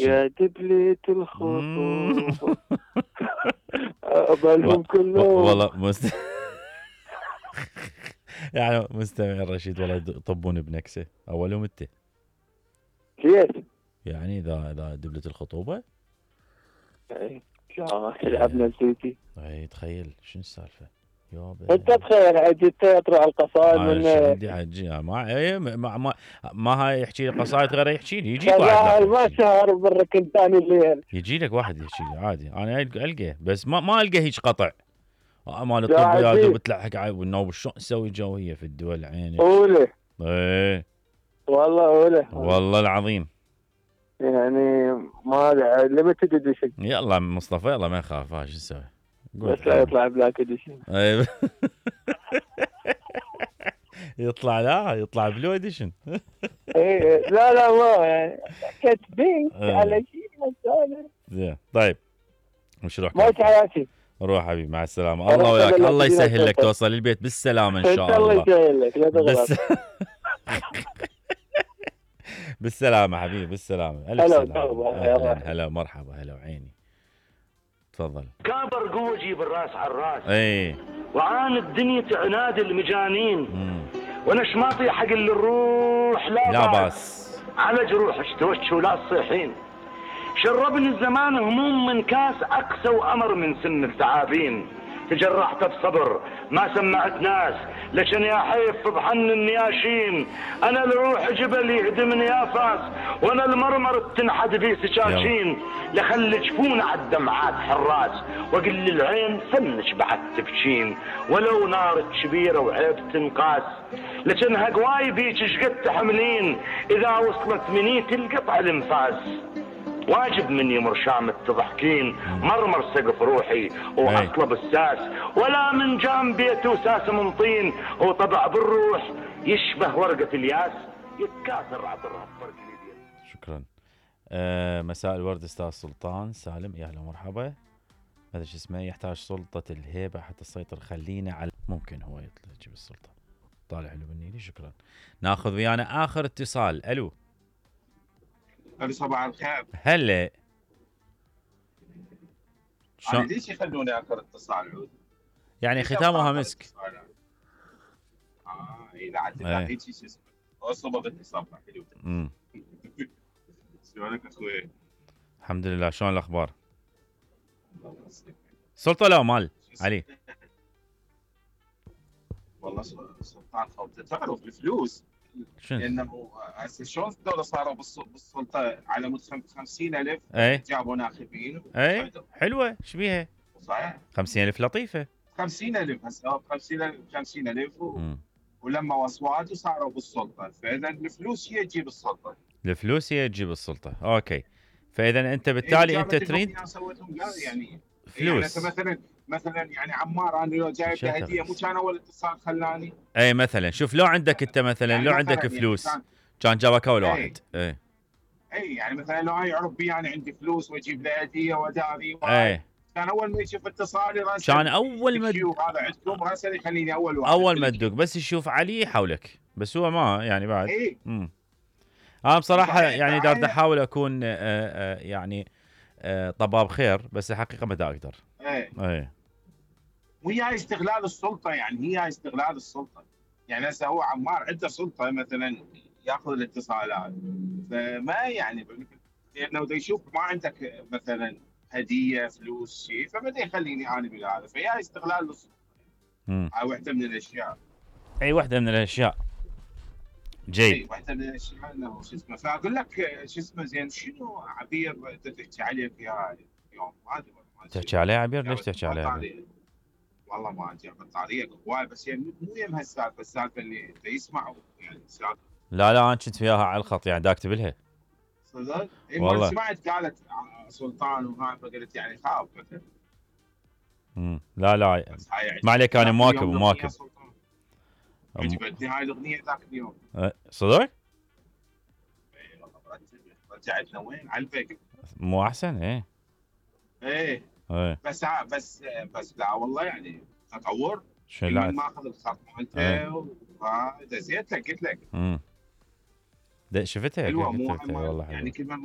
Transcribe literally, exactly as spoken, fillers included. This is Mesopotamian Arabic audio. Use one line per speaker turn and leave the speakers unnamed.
يا دبلة الخطوبة اقبلهم كلهم.
والله مست... يعني مستمع الرشيد والله يطبون بنكسه اولهم انت.
كيف؟
يعني اذا اذا دبلة الخطوبة
اي لعبنا السيتي.
اي تخيل شنو السالفة يابا.
انت تخيل عجي تقرا القصائد من
عندي عجي ما اي ما ما, ما هاي يحكي لي قصائد غير يحكي لي يجيك واحد
شغال ما شهر بالركن ثاني الليل
يجي لك واحد يحكي لي عادي انا القى بس ما ما القى هيك قطع مال الطب يا دوب تلحق على والنوب شلون نسوي جويه في الدول عينك.
اولى
ايه
والله اولى
والله العظيم
يعني ما ليمتد اديشن.
يلا مصطفى يلا ما يخاف ها شو نسوي
بس لا يطلع بلاك اديشن.
ايوه يطلع لا يطلع بلو اديشن.
ايه لا لا ما يعني كاتبين على شيء
زين طيب وش روح
ماشي حياتي
روح حبيبي مع السلامة الله وياك الله يسهل لك توصل البيت بالسلامة إن شاء الله.
الله يسهل لك لا
بس... بالسلامة حبيبي بالسلامة ألف سلامة. هلا هلا مرحبا هلا وعيني تفضل.
كابر قوة جيب الراس على الراس
اي
وعان الدنيا عناد المجانين وانا شماطي حق اللي الروح لا,
لا باس
على جروحك توجه ولا تصيحين. شربني الزمان هموم من كاس أقسى وأمر من سن التعابين. تجرحت بصبر ما سمعت ناس لكن يا حيف بحن النياشين. أنا لروح جبل يهدمني يا فاس وأنا المرمر بتنحد في سكاكين. لخلي جفون عالدمعات حراس وقل للعين فنش بعد تبكين. ولو نار كبيرة وعيب تنقاس لكن هقواي بيك شقد تحملين. إذا وصلت مني تلقطع الانفاس واجب مني مرشام تضحكين. مرمر سقف روحي واطلب الساس ولا من جام بيت وساس من طين. وطبع بالروح يشبه ورقة الياس يتكاثر عطرها بفرق اليدين.
شكرا. آه مساء الورد استاذ سلطان سالم يا اهلا ومرحبا. هذا شو اسمه يحتاج سلطة الهيبة حتى تسيطر خلينا على ممكن هو يطلع يجيب السلطة. طالع حلو بالنيلي شكرا. ناخذ ويانا اخر اتصال. الو
الو صباح الخير.
هلا
شلون ليش يخلوني اخر اتصال عود؟
يعني ختامها مسك.
اه اي لا عاد هيك شو اسمه اصبغ اتصال حلو.
امم
شلونك اخوي؟
الحمد لله شلون الاخبار؟ سلطة لا مال علي
والله سلطان خوته تعرف الفلوس لانه هسه شلون الدوله صاروا بالسلطه على مود خمسين ألف
اي
جابوا ناخبين
اي حلوه ايش بيها؟
صحيح
خمسين ألف لطيفه.
خمسين ألف هسه خمسين ألف خمسين ألف و... ولما اصوات وصاروا بالسلطه. فاذا الفلوس هي تجيب السلطه.
الفلوس هي تجيب السلطه اوكي. فاذا انت بالتالي
إيه
انت تريد
يعني
فلوس
يعني مثلا مثلا يعني عمار انا لو جايب له هديه مو كان اول اتصال خلاني.
اي مثلا شوف لو عندك انت مثلا يعني لو عندك يعني فلوس يعني كان جابك اول واحد. اي
اي يعني مثلا لو هاي يعرف بي انا عندي فلوس واجيب له هديه وداري
اي
كان اول ما يشوف اتصالي راسل
كان اول ما
تدق هذا عندكم راسل يخليني اول واحد.
اول ما تدق بس يشوف علي يحولك بس هو ما يعني بعد.
اي
امم انا بصراحه يعني دار احاول اكون آآ آآ يعني آآ طباب خير بس الحقيقه ما دا اقدر.
اي
اي
وهي استغلال السلطه يعني هي استغلال السلطه. يعني هسه هو عمار عنده سلطه مثلا ياخذ الاتصالات فما يعني لانه بده يشوف ما عندك مثلا هديه فلوس شيء فبدا يخليني انا بهذا فهي استغلال للسلطه. هاي وحده من الاشياء.
اي وحده من الاشياء. جيد.
اي وحده من الاشياء انه شو اسمه فاقول لك شو اسمه زين شنو عبير تحكي عليه في هاي اليوم ما ادري
تحكي عليه عبير ليش تحكي عليه؟
والله ما ادري بطاريه هواي بس يعني مو يم هالسالفه السالفه اللي يسمعوا يعني السالفه.
لا لا انا كنت وياها على الخط يعني دا اكتب لها.
صدق؟ اي والله سمعت قالت سلطان وهاي فقلت يعني خاف مثلا.
امم لا لا ما عليك انا مواكب ومواكب.
عجبتني هاي الاغنيه ذاك اليوم.
صدق؟
اي والله رجعتنا وين على الفقر.
مو احسن ايه.
ايه
ايه
بس بس بس لا والله يعني تطور.
شو لا
ما اخذ الخط مالته دزيت لك قلت لك.
امم شفتها
حلوه مو
والله
يعني كل ما